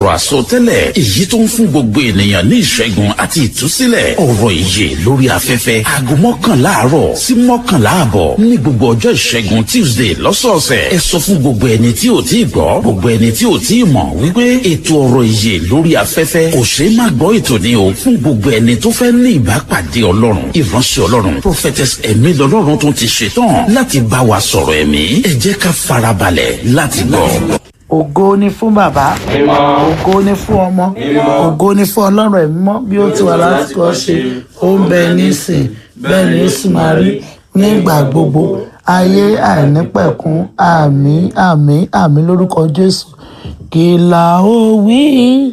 Ọ̀rọ̀ àsọtẹ́lẹ̀ èyí tó ń fún gbogbo ènìyàn ní ìṣẹ́gun àti ìtúsílẹ̀. Ọ̀rọ̀ ìyè lórí afẹ́fẹ́, aago 11 àárọ̀ sí 11 àbọ̀ ní gbogbo ọjọ́ ìṣẹ́gun Tuesday lọ́sọ̀ọ̀sẹ̀. Ẹ sọ fún gbogbo ẹni tí ò tí ì gbọ́, gbogbo ẹni tí ò tí ì mọ̀ wípé ètò ọ̀rọ̀ ìyè lórí afẹ́fẹ́ kò ṣeé má gbọ́ ètò ni o fún gbogbo ẹni tó fẹ́ ní ìbápàdé Ọlọ́run. Ìránṣẹ́ Ọlọ́run Prophetess Ẹ̀mí lọ́lọ́run tún ti ṣetán láti bá wa sọ̀rọ̀ ẹ̀mí. Ẹ jẹ́ ká farabalẹ̀ láti gbọ́. Ògo ni fún Bàbá, ògo ni fún Ọmọ, ògo ni fún Ọlọ́run Ẹ̀mí mọ́, bí ó ti wà láti kọ́ ṣe, ó ń bẹ nísìn, bẹ́ẹ̀ ni ó sì máa rí nígbà gbogbo ayé àìnípẹ̀kun. Àmín, àmín, àmín lórúkọ Jésù. Kí la ó wí?